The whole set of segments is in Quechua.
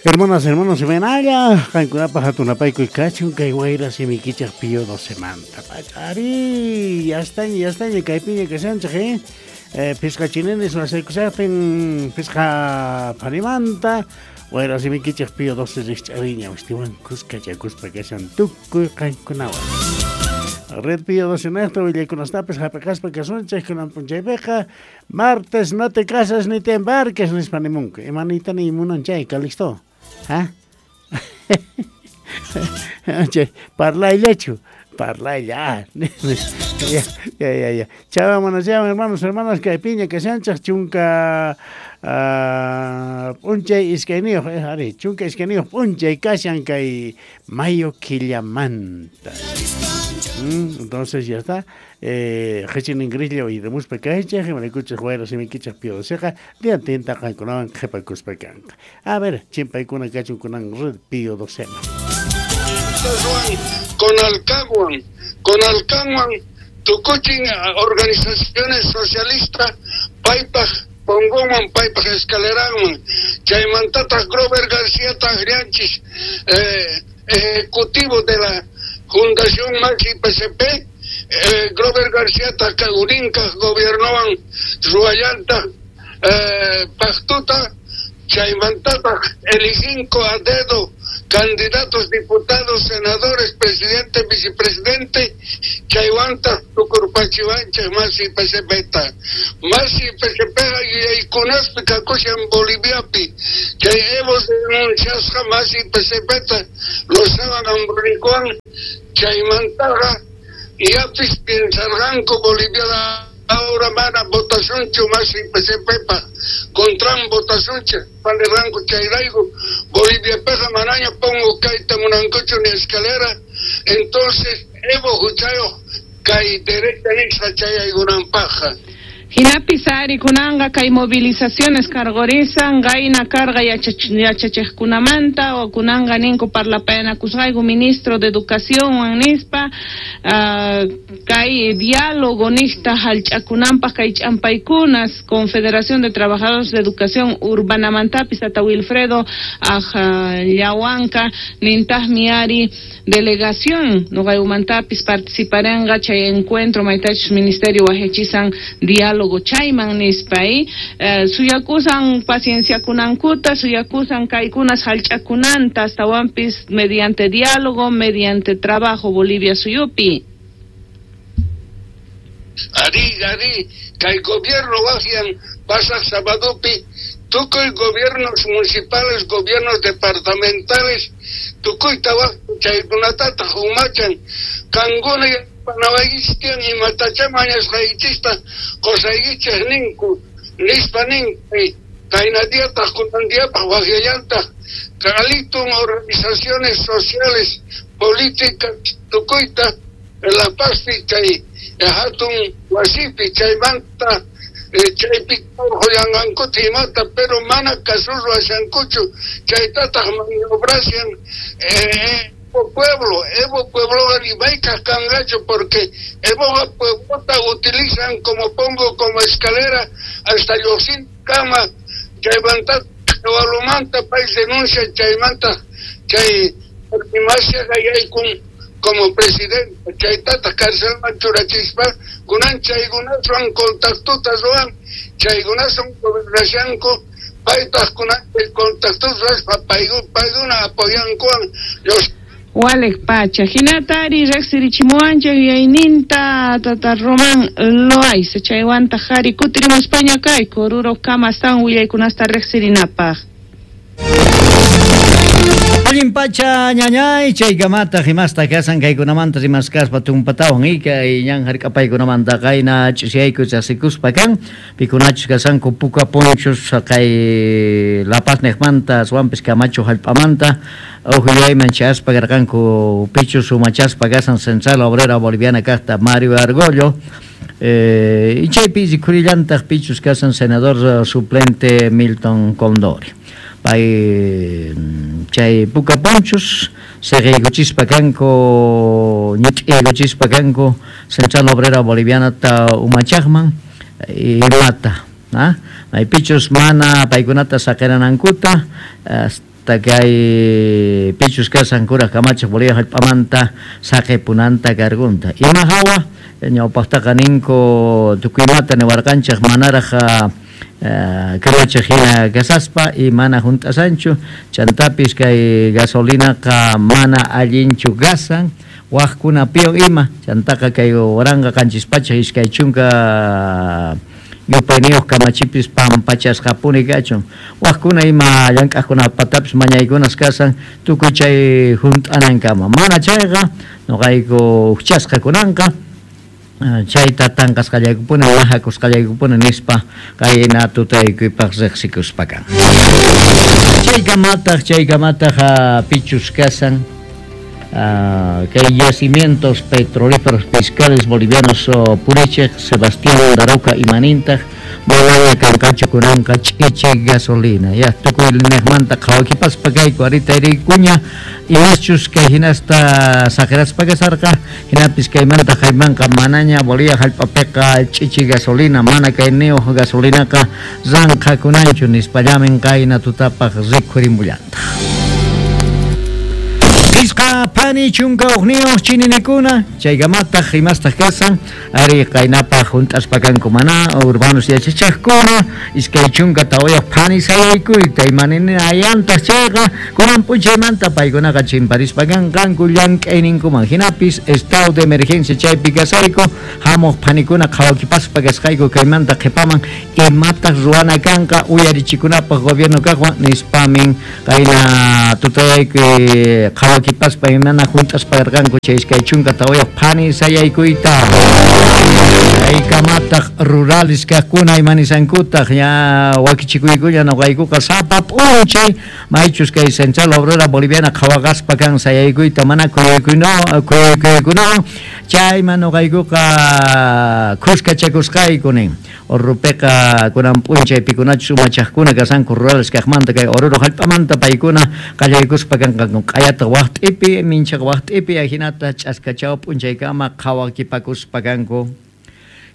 Hermanas, hermanos, imaynalla, qankunapaq hatunapaykuy kachun kay wayra simikichaq Pío 12manta. Pachari, ya estaña, ya estaña, kaypiña kashanchik, eh? Phisqa chinenes wasaykushaqtin, phisqa pharimanta, wayra simikichaq Pío 12 rikch'ariña, ustiwan kuskachakuspa kashan tukuy qankunawan. Red Pío 12 niqta willaykunastapis hap'iqaspa kasunchik kunan p'unchaypiqa martes no te casas ni te embarques nispa nimunku. Ima niyta niy munan chay, Calixto? ¿Ah? Chay, parlayllachu, parlaylla. Ya, ya, ya, ya. Chawan mana chawan, hermanos, hermanas, kaypiña kashanchik chunka p'unchay iskayniyuq, ari, chunka iskayniyuq p'unchay kashan kay mayo killamanta. Entonces ya está. Qhichin ingrislla uyarimuspa kaychik, imaraykuchus wayra simikichik Pío 12qa diantinta qankunawan qhipakuspa kanqa. A ver, chimpaykuna kachun kunan Red Pío 12. Con Alcahuan, con Alcahuan, tukuchin organizaciones socialistas, paypaj pongoman, paypaj escaleranman, chaymantataq Grover García Tagrianchis, ejecutivo de la Fundación Maxi PCP, Grover García Urinca gobiernoan Ruayanta, Pactuta, chaymantataq eliginco a dedo candidatos, diputados, senadores, presidente, vicepresidente, chaywanta tukurpachiwanchik Masi PCP-ta. Masi PCP yuyaykunaspi kakushan Boliviapi, chay Evo denunciasqa Masi PCP-ta Lozawan Ambronicowan, chaymantaqa yapis piensarqanku Bolivia ahora mana votacionchu Masi PCP-pa contran votacionchu panirqanku chayrayku Boliviapiqa manaña pongo kayta munankuchu ni escalera, entonces Evo huchayuq kay derecha nisqa chayaykunanpaqqa. Hinapis ari kunanqa kay movilizaciones karqurisan qayna karqa yachachiqkunamanta o kunanqa ninku parlapayanakusqayku ministro de educación nispa kay diálogo niqta hallch'akunanpaq kay ch'ampaykunas Confederación de Trabajadores de Educación Urbanamantapis tata Wilfredo Llawanka nintaqmi ari delegación nuqaymantapis participarenqa chay encuentro maytachus ministerio wajachisan diálogo chayman nispa suyakusan pacienciakunankuta suyakusan kaykunas hallch'akunanta astawanpis mediante diálogo mediante trabajo Bolivia suyupi. Ari, ari, kay gobierno wajian pasaq sabadopi tukuy gobiernos municipales, gobiernos departamentales, tukuyta waj chaykunatataq umachan kankuna panawaykichik imatachá mañasqaykichikta qusaykichik ninku nispa ninku kayna diataq kunan diapaq wajyallantaq kalitun organizaciones sociales, políticas tukuyta La Pazpi chay hatun wasipi chaymanta chaypi urqullanqankuta imata pero mana kasurwashankuchu chaytataq maniobrashan Evo pueblo, Evo pueblo rimayka kanqachu porque Evo pueblota utilizan como pongo como escalera hasta lluqsin kama chaymanta walumanta pay denuncia chaymanta chay masha yaykun como presidente chaytataq carcelman churachispa kunan chaykunaswan contactuta ruwan chaykunaswan gobernashanku paytaq kunan chay contactuta ruwaspa paykuna apoyankuwan los Walek pacha hinatari riqsirichimuwanchik yuyayninta tata Román Loaiza chaywantaq ari kutirimuspaña kayku Oruro kama astawan willaykunasta riqsirinapaq. Allin pacha ñañay chaykamataq imasta kasan kaykunamanta rimaskaspa tumpatawan kay ñan hark'apaykunamanta qayna ch'isiyayku chasikuspa kan pikunachus kasanku puka ponchos kay La Paz niqmanta aswanpis Camacho hallp'amanta uqllayman chayaspa karqanku pichus umachaspa kasan Central Obrera Boliviana kaqta Mario Argollo chaypi rikhurillantaq pichus kasan senador suplente Milton Condori. Pay chay puka ponchos siqiykuchispa kanku ñit'iykuchispa kanku Central Obrera Boliviana ta umachaqman imata maypichus mana paykunata saqiranankuta Hasta kay pichus kasan kuraq kamachiq Bolivia hallp'amanta saqipunanta cargunta. Ima hawa ñawpaqtaqa ninku tukuymata niwarqanchik manaraq kamachiq hina kasaspa y mana hunt'asanchu chantapis kay gasolinaqa mana allinchu gasan waqkunapiwan ima chantaqa kay 1720 yupayniyuq kamachipis pampachasqapuni kachun waqkuna ima llank'aqkunapatapis mañaykunas kasan tukuy chay hunt'anankama mana chayqa nuqayku hukchasqa kunanqa chayta tanqasqallaykupuni mahakusqallaykupuni nispa qayna tutaykuypaq riqsikuspa kan. Chaykamataq pichus kasan kay yacimientos petrolíferos fiscales bolivianos purichiq Sebastián Daroca imanintaq manaña kanqachu kunanqa ch'ichi gasolina ya tukuy niqmanta qhawakipaspa kayku arita rikuña imaschus kay hinasta saqiraspa kasarqa hinapis kaymanta qaymanqa manaña Bolivia hallp'apiqa ch'ichi gasolina mana kayniyuq gasolinaqa ranqhakunanchu nispallamin qayna tutapaq rikhurimullataq. Pisqa phani chunka uqniyuq chininikuna chaykamataq imastaq kasan ari qaynapaq hunt'aspa kanku mana urbanos yachachiqkuna 24 phani sayaykuyta imaninayantaq chayqa kunan p'unchaymanta paykunaqa chimparispa kanqanku llank'ayninkuman hinapis estado de emergencia chaypi kasayku hamuq phanikuna qhawakipaspa kasqayku kaymanta qhipaman imataq ruwana kanqa uyarichikunapaq gobierno kaqwan nispamin qayna tutayaykuy qhawakipaspa imana hunt'aspa karqanku chay 24 phani sayaykuyta chaykamataq rurales kaqkuna imanisankutaq ya wakichikuykulla nuqaykuqa sapa p'unchay maychus kay Central Obrera Boliviana qhawaqaspa kan sayaykuyta mana kuyukuykunawan chayman nuqaykuqa khuskachakusqayku nin Orrupiqa kunan p'unchay pikunachus umachaqkuna kasanku rurales kaqmanta kay Oruro hallp'amanta paykuna qallaykuspa kanqanku q'ayataq waqt'ipi minchaq waqt'ipi ajinata ch'askachaw p'unchaykama qhawakipakuspa kanku.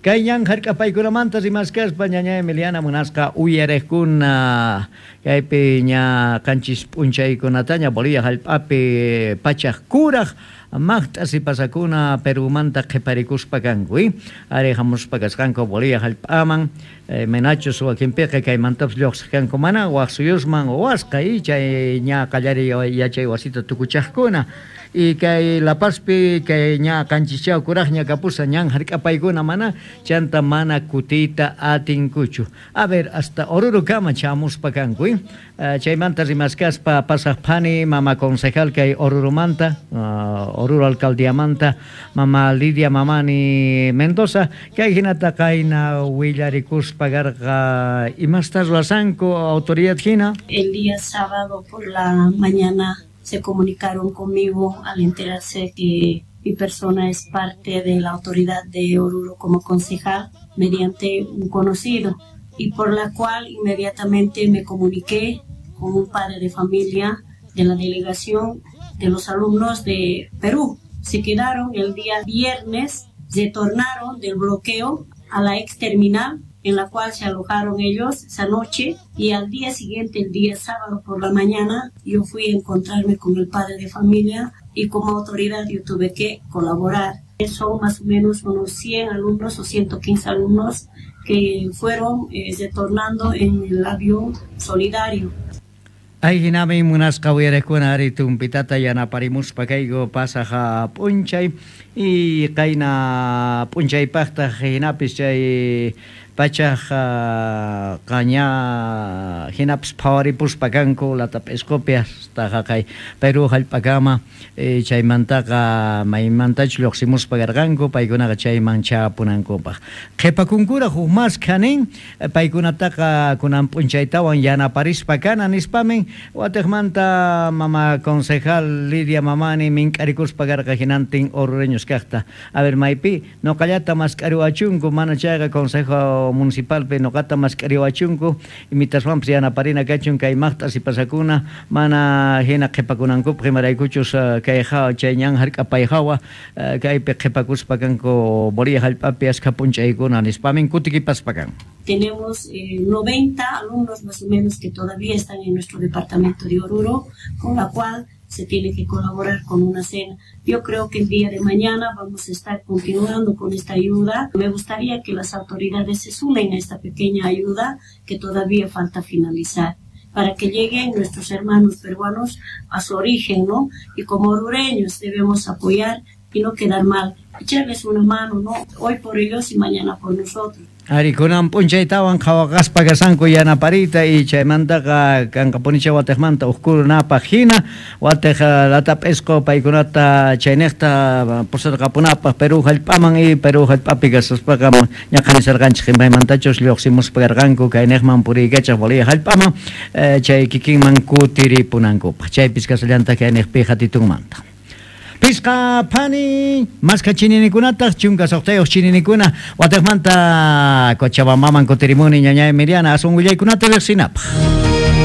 Kay ñan hark'apaykunamanta rimaskaspa ñaña Emiliana munasqa uyariqkuna kaypi ña qanchis p'unchaykunataña Bolivia hallp'api pachaq kuraq maqt'a sipasakuna Perumanta qhiparikuspa kanku ari hamuspa kasqanku Bolivia hallp'aman menachus wakinpiqa kaymantapas lluqsiq kanku mana waq suyusman wasqa chay ña qallariy yachay wasita tukuchaqkuna y kay La Pazpi kay ña qanchischaw kuraqña kapusa ñan hark'apaykuna mana chanta mana kutiyta atinkuchu. A ver, hasta Orurokama chamuspa kanku chaymanta rimaskaspa pasaq phani mama concejal kay Oruromanta Oruro alcaldiamanta mama Lidia Mamani Mendoza kay hinata qayna willarikuspa karqa imasta ruwasanku autoridad hina. El día sábado por la mañana se comunicaron conmigo al enterarse que mi persona es parte de la autoridad de Oruro como concejal mediante un conocido, y por la cual inmediatamente me comuniqué con un padre de familia de la delegación de los alumnos de Perú. Se quedaron el día viernes, retornaron del bloqueo a la ex terminal en la cual se alojaron ellos esa noche, y al día siguiente, el día sábado por la mañana, yo fui a encontrarme con el padre de familia y como autoridad yo tuve que colaborar. Son más o menos unos 100 alumnos o 115 alumnos que fueron retornando en el avión solidario. Ay, hinami munasqa uyariqkuna ari tumpitata yanaparimuspa kayku pasaq p'unchay y qayna p'unchaypaqtaq hinapis chay pachaq qaña hinapis phawaripuspa kanku Latap'isqupi hasta haqay Perú hallp'akama chaymantaqa maymantachu lluqsimuspa karqanku paykunaqa chayman chapunankupaq qhipakunkuraq huk maskha nin paykunataqa kunan p'unchaytawan yanaparispa kana nispamin watiqmanta mama concejal Lidia Mamani mink'arikuspa karqa hinantin orureños kaqta. A ver, maypi nuqallata mask'ariwachunku mana chayqa consejo municipalpi noqata mask'ariwachunku imitaswanpas yanaparina kachun kay maqt'a sipasakuna mana hina qhipakunankupaq imaraykuchus kay chay ñan hark'apay hawa kaypi qhipakuspa kanku Bolivia hallp'api askha p'unchaykuna nispamin kutikipaspa kan. Tenemos 90 alumnos más o menos que todavía están en nuestro departamento de Oruro, con la cual se tiene que colaborar con una cena. Yo creo que el día de mañana vamos a estar continuando con esta ayuda. Me gustaría que las autoridades se sumen a esta pequeña ayuda que todavía falta finalizar, para que lleguen nuestros hermanos peruanos a su origen, ¿no? Y como orureños debemos apoyar y no quedar mal, echarles una mano, ¿no? Hoy por ellos y mañana por nosotros. Ari, kunan p'unchaytawan qhawaqaspa kasanku yanaparita y chaymantaqa kanqapunicha watiqmanta uqkunapaq hina watiq latap'isqu paykunata chayniqta pusarqapunapaq Perú hallp'aman y Perú hallp'api kasaspaqa ñaqanisarqanchik imaymantachus lluqsimuspa karqanku kayniqman puriykachaq Bolivia hallp'aman chay kikinman kutiripunankupaq chaypis kasallantaq kayniqpi hatitunmanta. Pisqa phani maska chininikunataq chunka suqtayuq chininikuna watiqmanta Cochabambaman kutirimuni ñañay Miriana asun willaykunata riqsinapaq.